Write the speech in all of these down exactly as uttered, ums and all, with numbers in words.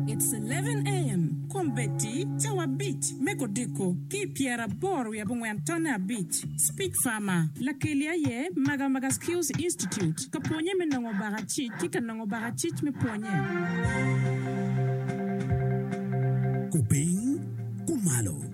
It's eleven AM, Kombeddi, cawa abic me kodiko ki pyeraboro wiye abongwen tonne abic. Speak Farmer, lakeli aye Magamaga Skills Institute, ka pwonye me nongo bakacic ki ka nongo bakacic me pwonye. Kupiny, kumalo,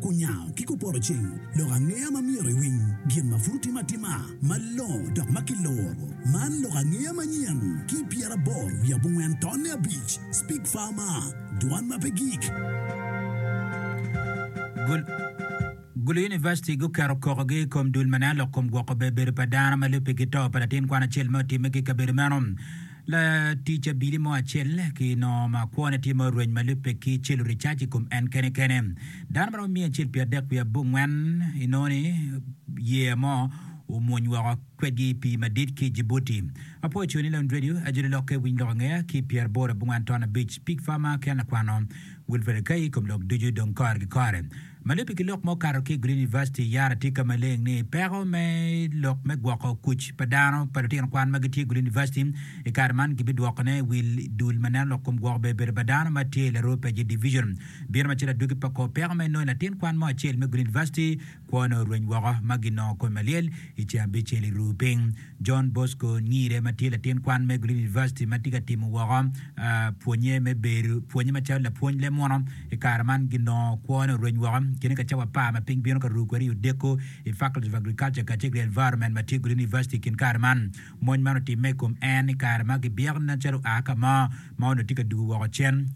kunyango ki kupoto ceng, lok angeya ma myero iwiny, gin ma pud otimo atima, malongo dok ma kiloro. Man lok angeya manyen ki pyeraboro wiye abongwen tonne abic. Speak Farmer, dwan ma pe gik. Gul Gulu University guketo kokogi i kom dul ma neno lok kom gwoko ber bedo pa dano ma lubbe ki to pa latin kwan acel ma otimme ki i kabedo meno. Latic abili mo acel kinongo ma kwone tye ma orweny ma lubbe ki celo ricac i kom en kene kene. Dano ma romo miya acel pye adek wiye abongwen inongo ni yeya mo omwony woko kwedgi i pii madit ki i Djibouti. Apwoyo coni Lon Radio, ajoli lokke winy lok angeya ki pyeraboro abongwen ton abic Pig Farmer ki an lakwano Wilfred Akai i kom lok ducu dong kore ki kore. Ma lubbe ki lok ma okato ki i Gulu University, yara tye ka maleng ni peko me lok me gwoko kuc pa dano pa lutino kwan ma gitye i Gulu University i kare man gibidwokone wil dul ma neno lok kom gwoko ber bedo pa dano ma tye i Laroo Peji Division. Bino macalo adwogi pa kor peko ma inongo latin kwan mo acel me Gulu University kwone orweny woko ma ginongo kome malyel i ceng abicel i ruu piny. John Bosco Nyire ma tye latin kwan me Gulu University ma tye ka timo woko pwonye me bedo pwonye macalo lapwony leb muno i kare man ginongo kwone orweny woko kine ka cawa apar ma piny bino ka ruu kwede i odeko i Faculty of Agriculture kacel ki Environment ma tye i Gulu University i kin kare man. Mony man otimme i kom en i kare ma gibyeko nen calo oa ka mo ma onongo tye ka dugo woko cen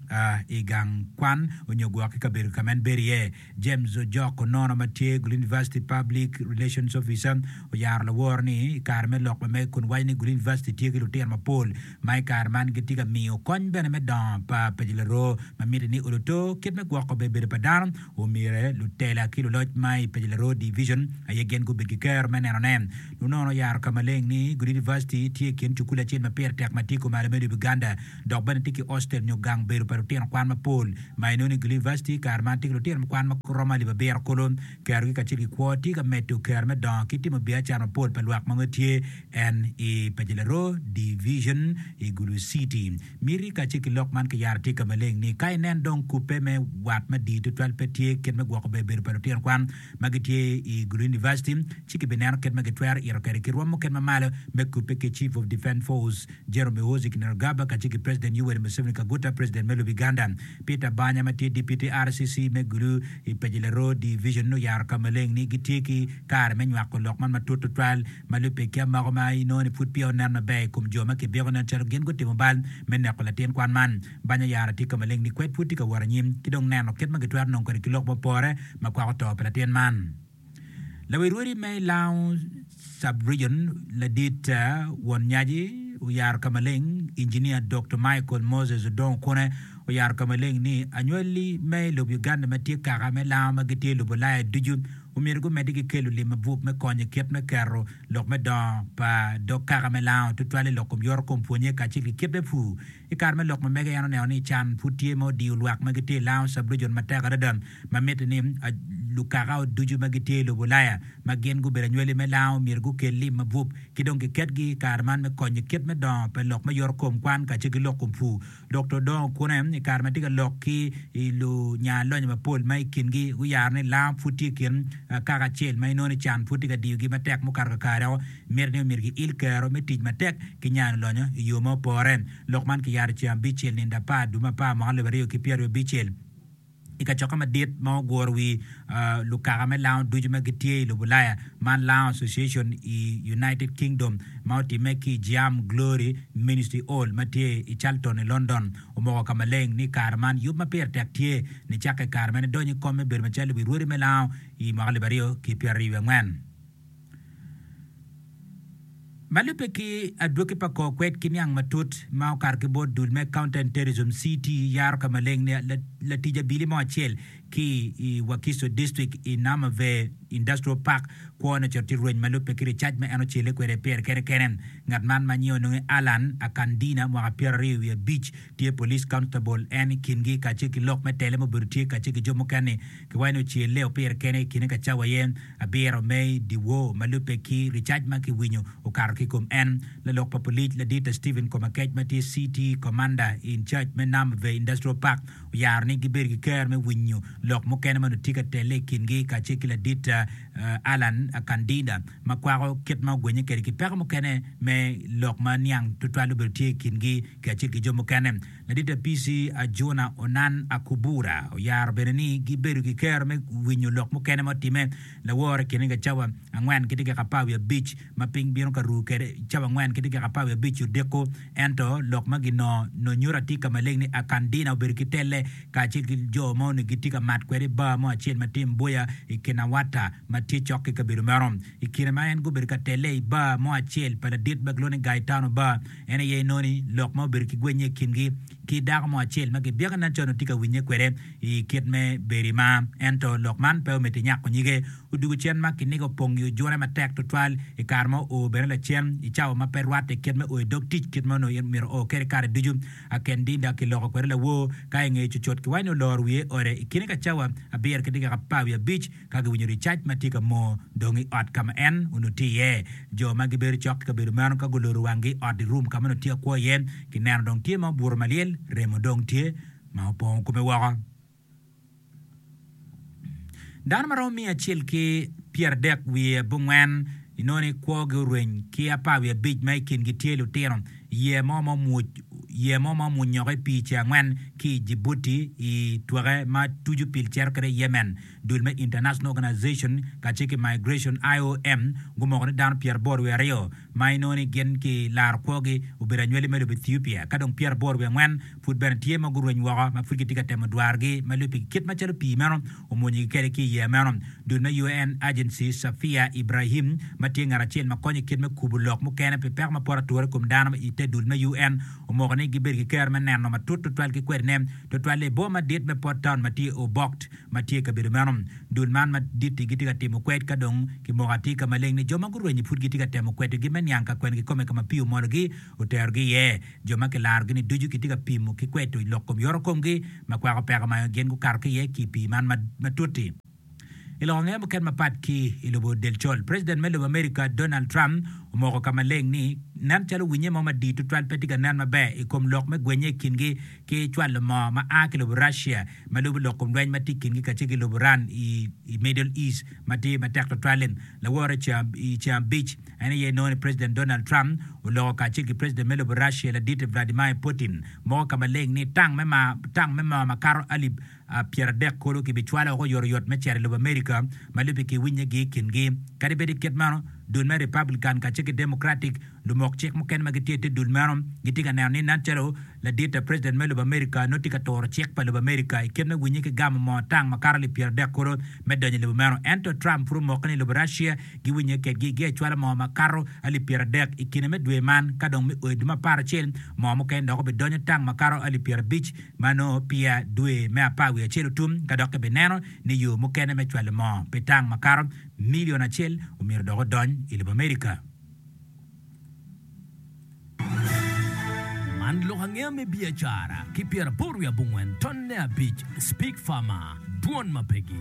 i gang kwan onyo gwok ki kabedo ka ma en bedo iye. James Ojok Onono ma tye Gulu University Public Relations Officer oyaro laworo ni i kare me lok ma mege kun waco ni Gulu University tye ki lutino mapol ma i kare man gitye ka miyo kony bene me dongo pa paci laroo ma mitte ni oluto kit me gwoko ber bedo pa dano omyere lutela ki luloc ma i paci laroo division aye gin gubed ki kero me neno ne. Onono oyaro ka maleng ni Gulu University tye i kin cukul acel ma pire tek ma tye kumalo me lobo Uganda dok bene tye ki hostel nyo gang bedo pa lutino kwan mapol ma inongo ni Gulu University kare man tye ki lutino kwan ma romo alip abiro kulu. Kerogi kacel ki kwo tye ka medo kero me dongo ki timo biacara mapol pa lwak ma nongo tye en i Pajilaro Division i Gulu City. Miti kacel ki lok man kiyaro tye ka maleng ni ka inen dong kubbe me wat madit tutwal pe tye kit me gwoko ber bedo pa lutino kwan ma gitye i Gulu University ci kibineno kit ma gitwero ito kwede ki rwom mukene ma malo me kubbe ki Chief of Defence Force General Muhoozi Kainerugaba kacel ki President Yoweri Museveni Kaguta President me lobo Uganda. Peter Banya ma tye Deputy R C C me Gulu i Pajilaro Division oyaro ka maleng ni gitye ki kare me nywako lok man matut tutwal ma lubbe ki amako ma inongo ni pud peya onen maber i kom jo ma kibyeko nen calo gin gutimo bal me neko latin kwan man. Banya oyaro tye ka maleng ni kwed pud tye ka wot anyim ki dong neno kit ma gitwero nongo kwede ki lok mupore ma kwako to pa latin man. Lawirwodi me Lango Sub-Region ladit won nyaci oyaro ka maleng Engineer Doktor Michael Moses Odongo Kune oyaro ka maleng ni anywali me lobo Uganda ma tye kaka me lango ma gitye i lobo Ulaya ducu omyero gumedde ki kelo lim mabup me konyo kit me keto lok me dongo pa dog kaka me lango tutwal i lok kom yoto kom pwonye kacel ki kit me pur. I kare me lok ma mege en oneno ni can pud tye ma odiyo lwak ma gitye i Lango Sub-Region matek adada ma mitte ni lukaka ducu ma gitye i lobo Ulaya ma gin gubedo anywali me Lango myero gukel lim mabup ki dong giketgi i kare man me konyo kit me dongo pa lok me yoto kom kwan kacel ki lok kom pur. Doktor Odongo Kune i kare ma tye ka lok ki lunya lonyo mapol ma i kingi guyaro ni Lango pud tye i kin kaka acel ma inongo ni can pud tye ka diyogi matek mukato kakareo mitte ni omyero giil kero me tic matek ki nyano lonyo i yo ma opore. Lok man kiyaro ceng abicel nindo apar dwe me apar mwaka alip aryo ki pyeraryo abicel i kacokke madit ma oguro wi lukaka me lango ducu ma gitye i lobo Ulaya man Lango Association i United Kingdom ma otimme ki i Jiam Glory Ministry Hall ma tye i Charlton i London omoko ka maleng ni kare man yub ma pire tek tye nicakke i kare ma en edonyo i kom me bedo macalo wi rwodi me lango i mwaka alip aryo ki pyeraryo wiye angwen. Ma lubbe ki adwogi pa kor kwed ki niang matut ma okato ki bot dul me Counter Terrorism, C T, yaro ka maleng ni latic abili mo acel ki i Wakiso District i Namave Industrial Park kwone ocito tye rweny ma lubbe ki ricac ma en ocele kwede pire kene kene. Ngat man ma nyinge ononge Allan Akandina mwaka pyeraryo wiye abic tye police constable en i kingi kacel ki lok me tele ma obedo tye kacel ki jo mukene kiwaco ni ocele pire kene i kine ka cawa aye abiro me dyewor ma lubbe ki ricac ma kiwinyo okato ki i kom en. Lalok pa polic ladit Stephen Komakech ma tye C T Commander in charge me Namve Industrial Park oyaro ni gibedo ki ker me winyo lok mukene ma onongo tye ka telle i kingi kacel ki ladit Allan Akandida ma kwako kit ma ogwenye kwede ki peko mukene me lok ma niang tutwal obedo tye i kingi kacel ki jo mukene. Ladit P C Ajuna Onan Akubura oyaro bene ni gibedo ki ker me winyo lok mukene ma otimme lawor i kine ka cawa angwen ki dakika apar wiye abic ma piny bino ka ru kwede cawa angwen ki dakika apar wiye abic odiko ento lok ma ginongo nongo nyuto atir ka maleng ni Akandina obedo ki telle kacel ki jo ma onongo gitye ka mat kwede i bar mo acel ma tye i Mbuya i Kinawata ma tye cok ki kabedo meno. I kine ma en gubedo ka telle i bar mo acel pa ladit ma kilwongo ni Gaetano Bar en aye inongo ni lok ma obedo ki gwenye i kingi ki dako mo acel ma kibyeko nen calo onongo tye ka winye kwede i kit me bedo i mar ento lok man pe omedde nyako nyige odwogo cen ma kiniga opong i ojune matek tutwal i kare ma oo bene lacen i cawa ma pe rwatte kit me o i dog tic kit ma onongo myero oo kwede kare ducu. Akandinda kiloko kwede lawor ka i ngeye cucut kiwaco ni oloro wiye i ode i kine ka cawa abiro ki dakika apar wiye abic ka giwinyo ricac ma tye ka moo dong i ot ka ma en onongo tye iye. Jo ma gibedo cok ki kabedo meno ka guloro wanggi i ot i rum ka ma onongo tye ka kwo iye kineno dong tye ma obuto malyel remo dong tye ma opongo kome woko. Dano ma romo miya acel ki pyeradek wiye abongwen inongo ni kwogi orweny ki apar wiye abic ma i kingi tye lutino yeya mo ma omwoc yeya mo ma omwonyoko i pii ceng angwen ki i Djibouti i twake ma tuco pil cito kwede i Yemen. Dul me International Organization kacel ki Migration I O M gumoko ni dano pyeraboro wiye aryo ma inongo ni gin ki laro kwogi obedo anywali me lobo Ethiopia ka dong pyeraboro wiye angwen pud bene tye ma gurweny woko ma pud gitye ka temo dwarogi ma lubbe ki kit macalo pii meno omwonyogi kwede ki i yeya meno. Dul me U N Agency Safia Ibrahim ma tye ngat acel ma konyo i kit me kubo lok mukene pi peko ma poto ature i kom dano i te dul me U N omoko ni gibedo ki ker me neno matut tutwal ki kwedine tutwal i boma madit me Port Town ma tye Obokt ma tye i kabedo meno. Dul man madit-ti gitye ka timo kwed ka dong kimoko atir ka maleng ni jo ma gurwenyo pud gitye ka temo kwedogi me niang ka kwen kikome ka ma pii omologi oterogi iye. Jo ma kilarogi-ni ducu kitye ka pimo ki kwedo lok kom yoto komgi ma kwako peko ma gin gukato ki iye ki i pii man matut-ti. I lok angeya mukene mapat ki i lobo del col, President me lobo America Donald Trump omoko ka maleng ni nen calo winye mo madit tutwal pe tye ka nen maber i kom lok me gwenye i kingi ki cwalo moo ma a ki lobo Russia ma lubo lok kom lweny ma tye i kingi kacel ki lobo Iran i, i Middle East ma tye matek tutwal-li. Lawore i ceng abic en aye nongo ni President Donald Trump oloko kacel ki President me lobo Russia ladit Vladimir Putin moko ka maleng ni tang me ma tang me moo makato alip pyeradek kulu kibicwalo woko oyotoyot me cito i lobo Amerika ma lubbe ki winyegi i kingi. Kadi bed i kit meno, dul me Republican kacel ki Democratic lumok cik mukene ma gitye i te dul meno gitye ka neno ni nen calo ladit President me lobo Amerika nongo tye ka turo cik pa lobo Amerika i kit me winye ki gamo moo tang makato alip pyeradek kulu me donyo i lobo meno. Ento Trump pud omoko ni lobo Russia giwinye kedgi giecwalo moo makato alip pyeradek i kine me dwe man ka dong me o i dwe me apar acel moo mukene dok obidonyo tang makato alip pyerabic ma nongo peya dwe me apar wiye acel otum ka dok kibineno ni yo mukene me cwalo moo pi tang makato milion acel omyero dok odony i lobo Amerika. Man lok angeya me biacara ki pyeraboro wiye abongwen tonne abic Speak Farmer, Dwon ma pegi.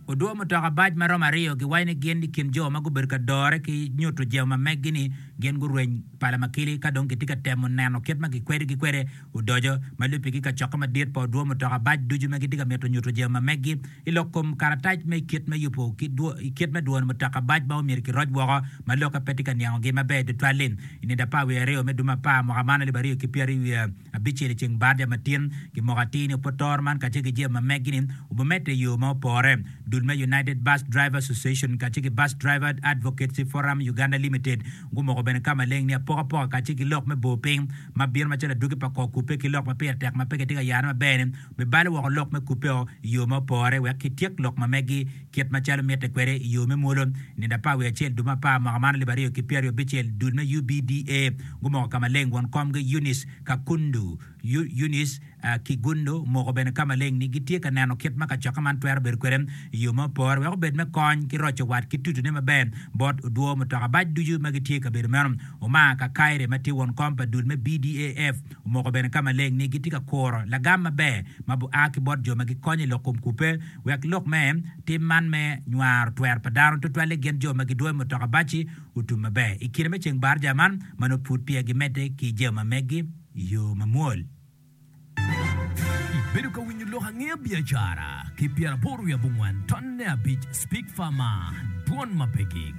Odwo mutoka bac ma romo aryo giwaco ni gin i kin jo ma gubedo ka dore ki nyuto jemo ma meggi ni gin gurweny pala makili ka dong gitye ka temo neno kit ma gikwedogi kwede odoco ma lubbe ki kacokke madit pa odwo mutoka bac ducu ma gitye ka mito nyuto jemo ma meggi i lok kom karatac me kit me yubo i kit me dwono mutoka bac ma omyero kiroc woko ma lokke pe tye ka niangogi maber tutwal-li. I nino apar wiye aryo me dwe me apar mwaka man alip aryo ki pyeraryo wiye abicel i ceng Bardia matin kimoko atir ni opotoro man kacel ki jemo ma meggi-ni obimedde i yo ma opore. Dul me United Bus Driver Association kacel ki Bus Driver Advocacy Forum Uganda Limited gumoko bene ka maleng ni apokapoka kacel ki lok me bor piny ma bino macalo adwogi pa kor kubbe ki lok ma pire tek ma pe kitye ka yane maber-ni bibalo woko lok me kubbeo i yo ma opore wek kityek lok ma meggi kit macalo mitte kwede i yo me mwolo. Nino apar wiye acel dwe me apar mwaka man alip aryo ki pyeraryo abicel dul me U B D A gumoko ka maleng won komgi Eunice Kakundu Eunice Kiggundu omoko bene ka maleng ni gitye ka neno kit ma kacokke man twero bedo kwede i yo ma opore wek obed me kony ki roco wat ki tutune maber bot odwo mutoka bac ducu ma gitye i kabedo meno. Omar Kakaire ma tye won kom pa dul me B D A F omoko bene ka maleng ni gitye ka kuro lagam maber ma bua ki bot jo ma gikonyo i lok kom kubbe wek lok me tim man me nywaro twero pa dano tutwalle gin jo ma gidwoyo mutoka bac-ci otum maber. I kine me ceng barja man ma nongo pud peya gimedde ki jami ma meggi i yo mamwol. Ibedo ka winyo lok angeya biacara ki pyeraboro wiye abongwen tonne abic Speak Farmer, Dwon ma pe gik.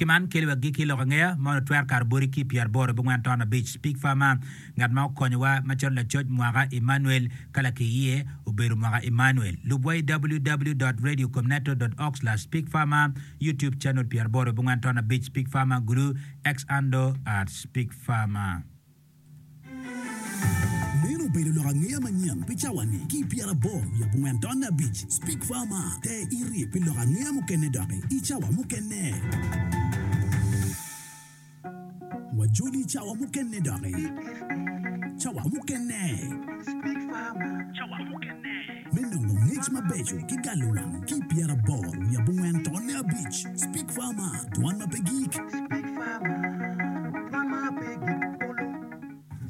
Ki man keli wa gikki lok angeya ma onongo twero kato boti ki pyeraboro abongwen ton abic Speak Farmer, ngat ma okonyowa macalo lacoc mwaka Emmanuel ka lakiye obedo mwaka Emmanuel. Lubwa i www dot radio comneto dot org slash speak farmer, YouTube channel pyeraboro abongwen ton abic Speak Farmer Gulu, X handle at Speak Farmer. Meno obedo lok angeya manyen pi cawa-ni ki i pyeraboro wiye abongwen tonne abic. Speak Farmer, Ter iri pi lok angeya mukene doki i cawa mukene. Wajoli i cawa mukene doki. Cawa mukene. Me nongo ngec mabeco ki galo wang ki i pyeraboro wiye abongwen tonne abic. Speak Farmer, Dwan ma pe gik.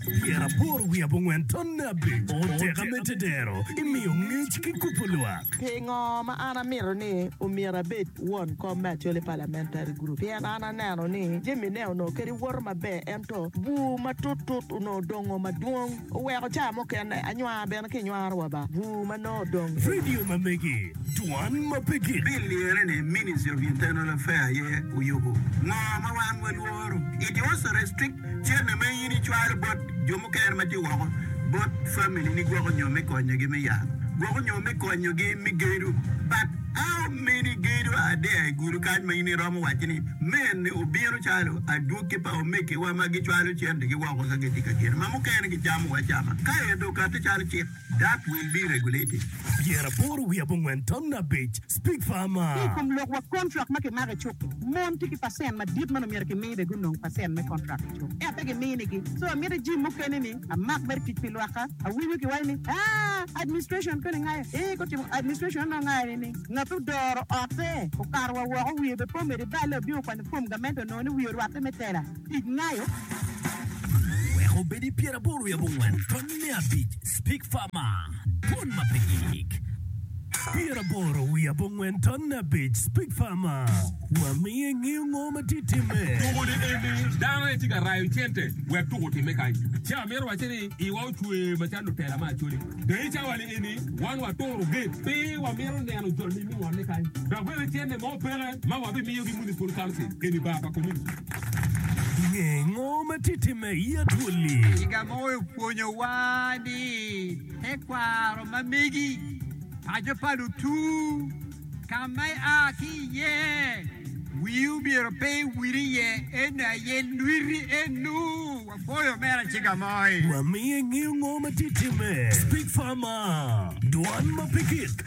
Pyeraboro wiye abongwen tonne abic oteka me tedero imiyo ngec ki kubo lwak. Pingo ma an amito ni omyero abed won kom me Acholi Parliamentary Group? Pien an aneno ni jami ne onongo kadi woto maber ento bur matut tut onongo dongo madwong oweko ca mukene anywar bene ki nywaro wa ba bur ma nongo odong. Radio ma megi, dwan ma pe gik. Bill lire ni Ministry of Internal Affairs aye oyubo. Ngo ma wan walworo? It also restrict Cente ma in icwalo bot jo mukene ma tye woko bot family ni gwoko nyo me konyogi me yat, gwoko nyo me konyogi me gedo. But how many gedo are there i gudo kany ma in iromo waco ni mene obino calo adwogi pa omegiwa ma gicwalo centegi woko ka gitye ka gedo ma mukene gicamo wa acama ka ento okati calo cik? That will be regulated. Pyeraboro wiye abongwen ton abic Speak Farmer. Ki i kom lok wa kontrak ma kimako i cuk-ki, mon tye ki pacent madit ma nongo myero kimi bene gunong pacent me kontrak i cuk ento pe giminigi. So amito jim mukene ni amak mere tic pi lwakka. Awinyo kiwaco ni aa administration koni ngayo ee gutimo administration onongo ngayo ni ngat odoro otte okato wa woko wiye bene pe omedo iballe obino okwanyo form gamente onongo ni wiye orwatte me tela. Tic ngayo. Wek obed i pyeraboro wiye abongwen tonne abic Speak Farmer, Dwon ma pe gik. Pyeraboro wiye abongwen tonne abic Speak Farmer, Wamiyo ingeyo ngo ma tye timme. Tuko ni eni dano aye tye ka rayo cente wek tuko otimme kany. Ci amito wacce ni iwa ocwer macalo lutela me Acholi. Dong i cawa ni eni wan waturo gate pe wamito neno joni me ngolle kany. Dok bene cente mo peke ma wabimiyogi Municipal Council eni bar pa community. Nge ngo ma tye timme i Acholi. Ciga mo opwonyowa ni tekwaro ma megi, paco pa lutu, ka ma ia ki iye, wii omyero pe iwil iye, eno aye lwiti enu. Wapwoyo omera Ciga Moi. Wamiyo ingeyo ngo ma tye timme. Speak Farmer, Dwan ma pe gik.